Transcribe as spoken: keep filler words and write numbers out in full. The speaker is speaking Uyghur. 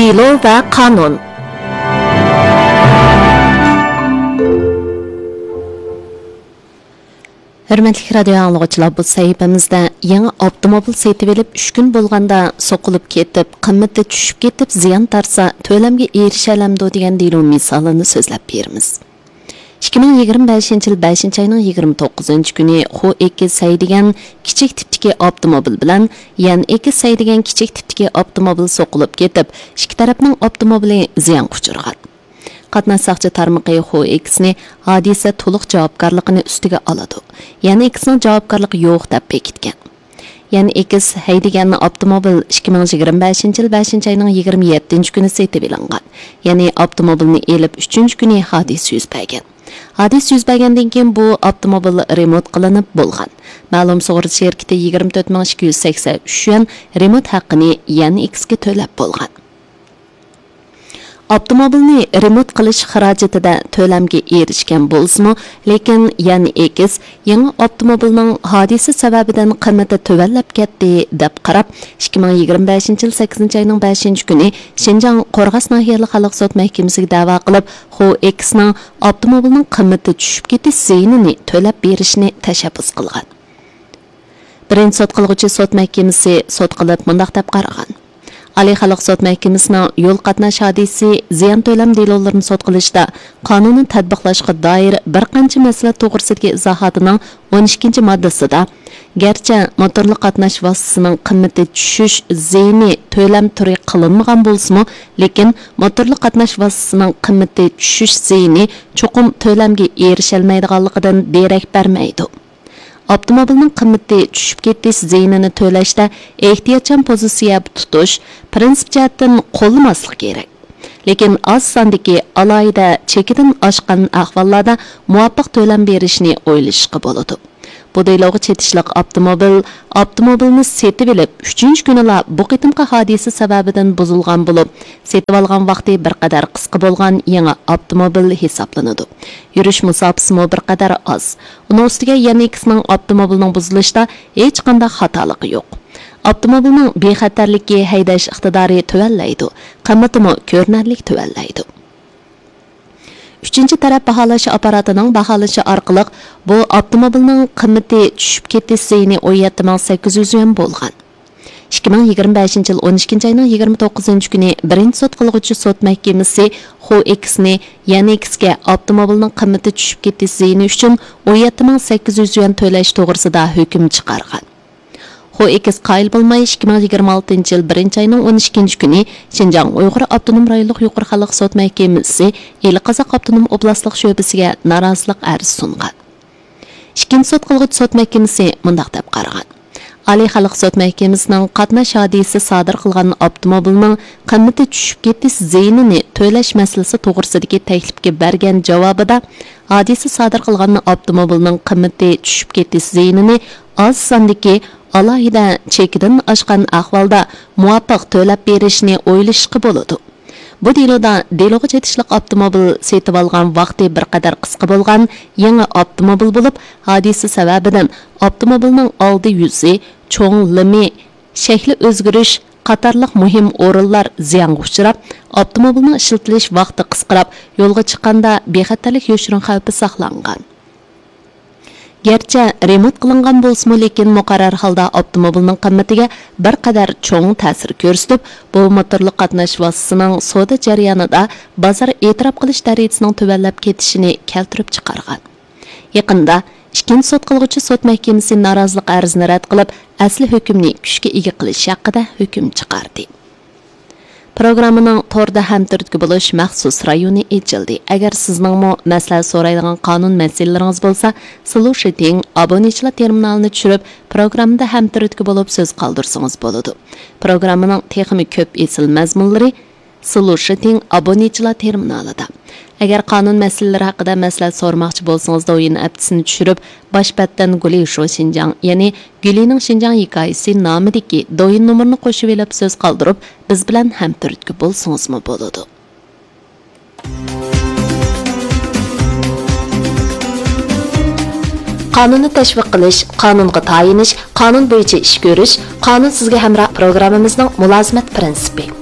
دېلو ۋە قانۇن. ھۆرمەتلىك رادىيو ئاڭلىغۇچىلار، بۇ سەھىپىمىزدە يېڭى ئاپتوموبىل سېتىۋېلىپ ئۈچ كۈن بولغاندا سوقۇلۇپ كېتىپ، قىممىتى چۈشۈپ كېتىپ زىيان تارتسا، تۆلەمگە ئېرىشەلەمدۇ دېگەن دېلو مىسالىنى سۆزلەپ بېرىمىز. ئىككى مىڭ يىگىرمە بەشىنچى يىل بەشىنچى ئاينىڭ يىگىرمە توققۇزىنچى كۈنى خو ئېكس ھەيدىگەن كىچىك تىپتىكى ئاپتوموبىل بىلەن يەن ئېكس ھەيدىگەن كىچىك تىپتىكى ئاپتوموبىل سوقۇلۇپ كېتىپ، ئىككى تەرەپنىڭ ئاپتوموبىلى زىيانغا ئۇچرىغان. قاتناش ساقچى تارمىقى خو ئېكسنى ھادىسە تولۇق جاۋابكارلىقىنى ئۈستىگە ئالىدۇ، يەنى ئېكسنىڭ جاۋابكارلىقى يوق دەپ بېكىتكەن. يەنى ئېكس ھەيدىگەن ئاپتوموبىل ئىككى مىڭ يىگىرمە بەشىنچى يىل بەشىنچى ئاينىڭ يىگىرمە يەتتىنچى كۈنى سېتىۋېلىنغان، يەنى ئاپتوموبىلنى ئېلىپ ئۈچىنچى كۈنى ھادىسە يۈز بەرگەن. ھادىسە يۈز بەرگەندىن كېيىن بۇ ئاپتوموبىل رېمونت قىلىنىپ بولغان. مەلۇم سۇغۇرتا شىركىتى يىگىرمە تۆت مىڭ ئىككى يۈز سەكسەن ئۈچ يۈەن رېمونت ھەققىنى يەنى ئېكسكە تۆلەپ بولغان. ئاپتوموبىلنى رېمونت قىلىش خىراجىتىدە تۆلەمگە ئېرىشكەن بولسىمۇ، لېكىن يەنى ئېكس يېڭى ئاپتوموبىلنىڭ ھادىسە سەۋەبىدىن قىممىتى تۆۋەنلەپ كەتتى، دەپ قاراپ، ئىككى مىڭ يىگىرمە بەشىنچى يىل سەككىزىنچى ئاينىڭ بەشىنچى كۈنى شىنجاڭ قورغاس ناھىيەلىك خەلق سوت مەھكىمىسىگە دەۋا قىلىپ، خو ئېكسنىڭ ئاپتوموبىلنىڭ قىممىتى چۈشۈپ كېتىش زىيىنىنى تۆلەپ بېرىشىنى تەشەببۇس قىلغان. بىرىنچى سوت قىلغۇچى سوت مەھكىمىسى سوت قىلىپ مۇنداق دەپ قارىغان: ئالىي خەلق سوت مەھكىمىسىنىڭ يول قاتناش ھادىسىسى زىيان تۆلەم دېلولىرىنى سوت قىلىشتا قانۇننى تەتبىقلاشقا دائىر بىر قانچە مەسىلە توغرىسىدىكى ئىزاھاتىنىڭ ئون ئىككىنچى ماددىسىدا، گەرچە موتورلۇق قاتناش ۋاسىتىسىنىڭ قىممىتى چۈشۈش زىيىنى تۆلەم تۈرى قىلىنمىغان بولسىمۇ، لېكىن موتورلۇق قاتناش ۋاسىتىسىنىڭ قىممىتى چۈشۈش زىيىنى چوقۇم تۆلەمگە ئېرىشەلمەيدىغانلىقىدىن دېرەك بەرمەيدۇ. ئاپتوموبىلنىڭ قىممىتى چۈشۈپ كېتىش زىيىنىنى تۆلەشتە ئېھتىياتچان پوزىتسىيە تۇتۇش، پىرىنسىپ جەھەتتىن قوللىماسلىق كېرەك. لېكىن ئاز ساندىكى ئالاھىدە چېكىدىن ئاشقان ئەھۋاللاردا مۇۋاپىق تۆلەم بېرىشنى ئويلىشىشقا بولىدۇ. بۇ دېلوغا چېتىشلىق ئاپتوموبىل ئاپتوموبىلنى سېتىۋېلىپ ئۈچىنچى كۈنىلا بۇ قېتىمقى ھادىسە سەۋەبىدىن بۇزۇلغان بولۇپ، سېتىۋالغان ۋاقتى بىر قەدەر قىسقا بولغان يېڭى ئاپتوموبىل ھېسابلىنىدۇ. يۈرۈش مۇساپىسىمۇ بىر قەدەر ئاز. ئۇنىڭ ئۈستىگە يەنى ئېكسنىڭ ئاپتوموبىلنىڭ بۇزۇلۇشتا ھېچقانداق خاتالىقى يوق. ئاپتوموبىلنىڭ بىخەتەرلىكى، ھەيدەش ئىقتىدارى تۆۋەنلەيدۇ، قىممىتىمۇ كۆرۈنەرلىك تۆۋەنلەيدۇ. ئۈچىنچى تەرەپ باھالاش ئاپپاراتىنىڭ باھالىشى ئارقىلىق، بۇ ئاپتوموبىلنىڭ قىممىتى چۈشۈپ كېتىش زىيىنى ئون يەتتە مىڭ سەككىز يۈز يۈەن بولغان. ئىككى مىڭ يىگىرمە بەشىنچى يىل ئون ئىككىنچى ئاينىڭ يىگىرمە توققۇزىنچى كۈنى بىرىنچى سوت قىلغۇچى سوت مەھكىمىسى خو ئېكسنى يەنى ئېكسكە ئاپتوموبىلنىڭ قىممىتى چۈشۈپ كېتىش زىيىنى ئۈچۈن ئون يەتتە مىڭ سەككىز يۈز يۈەن تۆلەش توغرىسىدا ھۆكۈم چىقارغان. خو ئېكس قايىل بولماي، ئىككى مىڭ يىگىرمە ئالتىنچى يىل بىرىنچى ئاينىڭ ئون ئىككىنچى كۈنى شىنجاڭ ئۇيغۇر ئاپتونوم رايونلۇق يۇقىرى خەلق سوت مەھكىمىسى ئىلى قازاق ئاپتونوم ئوبلاستلىق شۆبىسىگە نارازىلىق ئەرزى سۇنغان. ئىككىنچى سوت قىلغۇچى سوت مەھكىمىسى مۇنداق دەپ قارىغان: ئالىي خەلق سوت مەھكىمىسىنىڭ قاتناش ھادىسىسى سادىر قىلغان ئاپتوموبىلنىڭ قىممىتى چۈشۈپ كېتىش زىيىنىنى تۆلەش مەسىلىسى توغرىسىدىكى تەكلىپكە بەرگەن جاۋابىدا، ھادىسە سادىر قىلغان ئاپتوموبىلنىڭ قىممىتى چۈشۈپ كېتىش زىيىنىنى ئاز ساندىكى ئالاھىدە چېكىدىن ئاشقان ئەھۋالدا مۇۋاپىق تۆلەپ بېرىشنى ئويلىشىشقا بولىدۇ. بۇ دېلودا دېلوغا چېتىشلىق ئاپتوموبىل سېتىۋالغان ۋاقتى بىر قەدەر قىسقا بولغان يېڭى ئاپتوموبىل بولۇپ، ھادىسە سەۋەبىدىن ئاپتوموبىلنىڭ ئالدى يۈزى، چوڭ لىمى، شەكلى ئۆزگىرىش قاتارلىق مۇھىم ئورۇنلار زىيانغا ئۇچراپ، ئاپتوموبىلنىڭ ئىشلىتىلىش ۋاقتى قىسقىراپ، يولغا چىققاندا بىخەتەرلىك يوشۇرۇن خەۋپى ساقلانغان. گەرچە رېمونت قىلىنغان بولسىمۇ، لېكىن مۇقەررەر ھالدا ئاپتوموبىلنىڭ قىممىتىگە بىر قەدەر چوڭ تەسىر كۆرسىتىپ، بۇ موتورلۇق قاتناش ۋاسىتىسىنىڭ سودا جەريانىدا بازار ئېتىراپ قىلىش دەرىجىسىنىڭ تۆۋەنلەپ كېتىشىنى كەلتۈرۈپ چىقارغان. يېقىندا ئىككىنچى سوت قىلغۇچى سوت مەھكىمىسى نارازىلىق ئەرزىنى رەت قىلىپ، ئەسلى ھۆكۈمنى كۈچكە ئىگە قىلىش ھەققىدە ھۆكۈم چىقاردى. پروگراممىنىڭ توردا ھەمتۈرتكە بولۇش مەخسۇس رايونى ئېچىلدى. ئەگەر سىزنىڭمۇ مەسلىھەت سورايدىغان قانۇن مەسىلىلىرىڭىز بولسا، سلۇشىتىڭ ئابونېنتچىلار تېرمىنالىنى چۈشۈرۈپ، پروگراممىدا ھەمتۈرتكە بولۇپ سۆز قالدۇرسىڭىز بولىدۇ. پروگراممىنىڭ تېخىمۇ كۆپ ئېسىل مەزمۇنلىرى سلۇشىتىڭ ئابونېنتچىلار تېرمىنالىدا. ئەگەر قانۇن مەسىلىلىرى ھەققىدە مەسلىھەت سورىماقچى بولسىڭىز، دويىن ئەپتىسىنى چۈشۈرۈپ، باش بەتتىن گۇلى شو شىنجاڭ، يەنى گۈلىنىڭ شىنجاڭ ھېكايىسى نامىدىكى دويىن نومۇرىنى قوشۇۋېلىپ سۆز قالدۇرۇپ، بىز بىلەن ھەمتۈرتكە بولسىڭىزمۇ بولىدۇ. قانۇننى تەشۋىق قىلىش، قانۇنغا تايىنىش، قانۇن بويىچە ئىش كۆرۈش، قانۇن سىزگە ھەمراھ پروگراممىمىزنىڭ مۇلازىمەت پىرىنسىپى.